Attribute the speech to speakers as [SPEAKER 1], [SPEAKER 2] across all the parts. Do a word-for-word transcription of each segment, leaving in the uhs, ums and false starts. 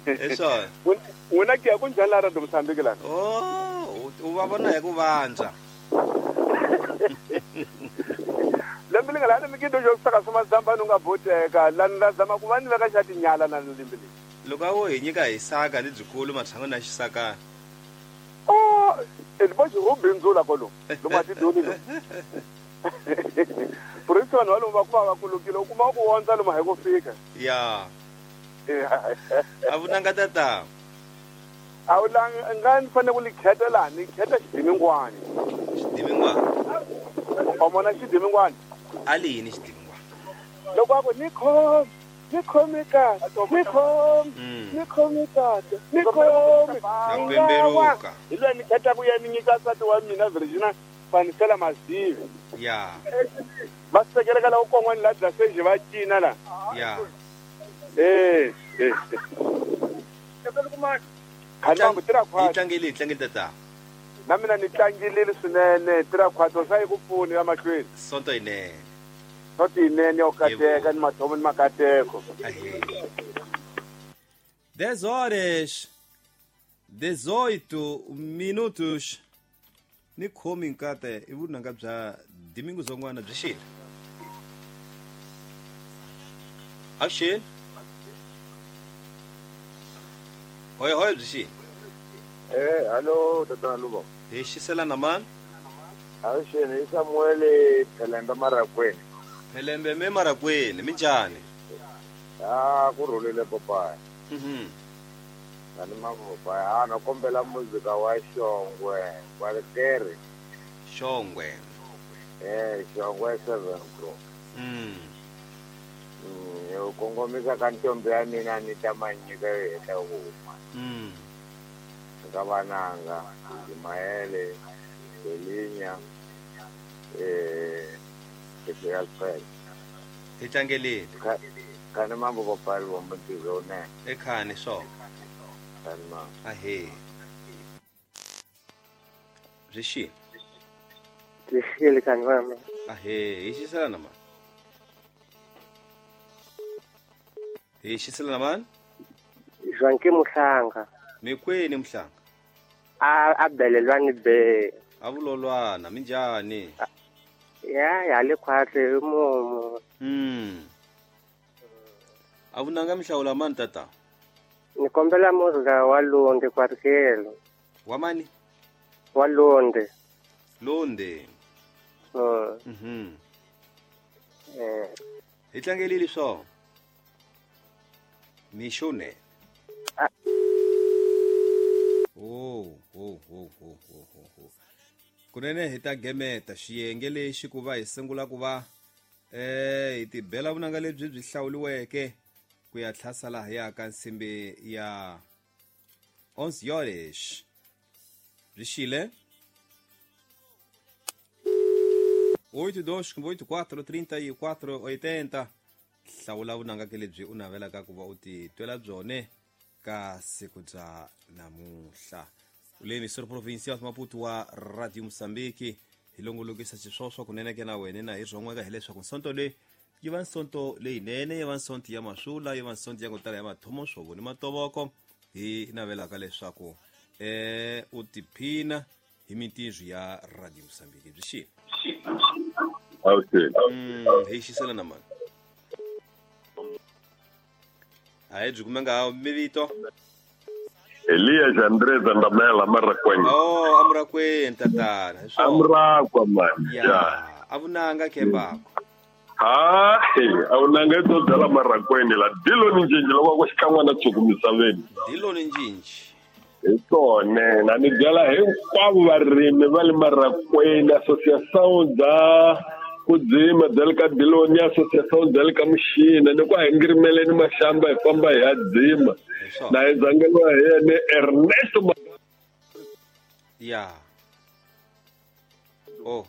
[SPEAKER 1] Eso.
[SPEAKER 2] Wena ke ku njhani la Radio Mozambique la?
[SPEAKER 1] Oh, u va vona hi ku vandza.
[SPEAKER 2] Lembe li nga la mi kido jo saka swa mazamba no nga boteka la nda zama ku va ni veka xa tinyala na lembe li.
[SPEAKER 1] Loko a wo hi nyika hi saka lebyikulu matshan'wini ya xisakana.
[SPEAKER 2] Oh, e bo xi bindzula kolo. Lomu a tidoni lo. Purisi vanhu va lomu va kuma va kulukile u kuma ku wondza lomu hi ku fika.
[SPEAKER 1] Ya. A vunanga tata.
[SPEAKER 2] A wu nga ni fanele ku li kheta laha ni kheta xidimingwani.
[SPEAKER 1] Xidimingwani.
[SPEAKER 2] O mona xidimingwani.
[SPEAKER 1] A li yini xidimingwani?
[SPEAKER 2] Loko a ku ni khomi, ni khomi kahle, ni khomi, ni khomi kahle, ni khomi.
[SPEAKER 1] Na ku pembeluka.
[SPEAKER 2] Hi loyi ni kheta ku ya ni nyika nsati wa mina Virginia fanisela mazivi.
[SPEAKER 1] Ya.
[SPEAKER 2] Va sekeleka la ku kon'wana la dlaseji va cina la.
[SPEAKER 1] Ya.
[SPEAKER 2] Eh, eh. Khani tira khwatso.
[SPEAKER 1] Hi tlangele, hi tlangele tata.
[SPEAKER 2] Na mina ni tlangilile swinene, tira khwatso swa yi ku pfuni ya mahlweni.
[SPEAKER 1] Sonto yinene.
[SPEAKER 2] Sonto yinene yo kateka ni mathomo ni makateko.
[SPEAKER 1] dez horas dezoito minutos. Ni khomi nkate i vunanga bya Domingo Zongwana byi xile. Avuxeni. Hoi hoi byi xile.
[SPEAKER 3] Eh, hallo tatana Lubo.
[SPEAKER 1] Hi xisela na mani?
[SPEAKER 3] Avuxeni, i Samuel Phelembe Marakweni.
[SPEAKER 1] Phelembe me Marakweni, minjhani?
[SPEAKER 3] Ah, ku rhulile papayi.
[SPEAKER 1] Mhm.
[SPEAKER 3] Ani mavopa, ah, na kombela muzika wa Xongwe, wa Tere.
[SPEAKER 1] Xongwe.
[SPEAKER 3] Eh, Xongwe seven Pro.
[SPEAKER 1] Mm.
[SPEAKER 3] Mm, yo kongomisa ka ntombi ya mina ni ta manyika yo heta ku huma.
[SPEAKER 1] Mm.
[SPEAKER 3] Ka vananga, Ismaele, Belinya, eh, Alfred.
[SPEAKER 1] Hi tlangelile.
[SPEAKER 3] Khani mambo papayi wa mutizo ne.
[SPEAKER 1] Ekhani swo.
[SPEAKER 3] Khani mambo.
[SPEAKER 1] Ahe. Byi xile.
[SPEAKER 4] Byi xile khani mama.
[SPEAKER 1] Ahe, hi xisela na mani? Hi xisela na mani?
[SPEAKER 4] Zwanke Muhlanga.
[SPEAKER 1] Mikweni Muhlanga?
[SPEAKER 4] A a belelwani be.
[SPEAKER 1] A vulolwana minjhani?
[SPEAKER 4] Ya ya le khwatle mumu.
[SPEAKER 1] Mm. A vunanga mihlawula mani tata?
[SPEAKER 4] Ni kombela muzika wa Londe Kwarikelo.
[SPEAKER 1] Wa mani?
[SPEAKER 4] Wa Londe.
[SPEAKER 1] Londe.
[SPEAKER 4] Mm.
[SPEAKER 1] Mhm.
[SPEAKER 4] Eh.
[SPEAKER 1] Hi tlangelile swo. Mixone.
[SPEAKER 4] Ah.
[SPEAKER 1] Oh, oh, oh, oh, oh, oh. Kunene hi ta gemeta xiyenge lexi ku va hi sungula ku va eh hi tibela vunanga lebyi byi hlawuliweke ku ya tlhasa laha ya ka nsimbi ya onze horas. Byi xile. oito dois oito quatro trinta e quatro oitenta. Hlawula vunanga ke lebyi u navelaka ku va u titwela byone ka siku bya namuntlha. U le emissora provincial Maputo wa Radio Mozambique hi longolokisa xiswoswo kunene ke na wena na hi rhon'weka hileswaku nsonto leyi yi va nsonto leyinene, yi va nsonto ya masula, yi va nsonto ya ku tala ya mathomo swovo ni matovoko. Hi navelaka leswaku eh u tiphina hi mintirho ya Radio Mozambique. Byi xile.
[SPEAKER 5] Okay.
[SPEAKER 1] Mm, hi xisela na mani? A hi byi kumanga mivito.
[SPEAKER 5] Elias Andrés Andamela Marakweni.
[SPEAKER 1] Oh, amurakweni tatana.
[SPEAKER 5] Amurakwa man.
[SPEAKER 1] Ya. Avunanga kembako.
[SPEAKER 5] Ha, avunanga to dala Marakweni la Diloni Njinji loko ku xikan'wana tshuku misaveni.
[SPEAKER 1] Diloni Njinji.
[SPEAKER 5] Hi swona, na ni byela hinkwavo varimi va le Marakweni, Associação da ku dzima bya le ka Diloni, Associação bya le ka Muxina, ni ku a hi ngirimeleni maxamba hi famba hi ya dzima. Na hi dzangeliwa hi yena Ernesto.
[SPEAKER 1] Ya. Oh.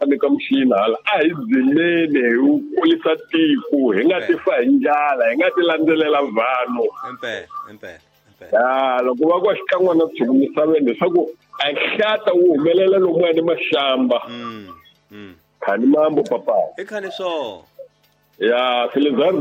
[SPEAKER 5] Ni ka Muxina hala a hi dzimeni hi wu kulisa tiko, hi nga ti fa hi ndlala, hi nga ti landzelela vanhu.
[SPEAKER 1] Impela, impela.
[SPEAKER 5] Ya, loko va ku xikan'wana tshuku misaveni leswaku a hlata wu humelela lomuya ni maxamba.
[SPEAKER 1] Mm. Mm.
[SPEAKER 5] Khani mambo papa.
[SPEAKER 1] I khani swo.
[SPEAKER 5] Ya, Felizardo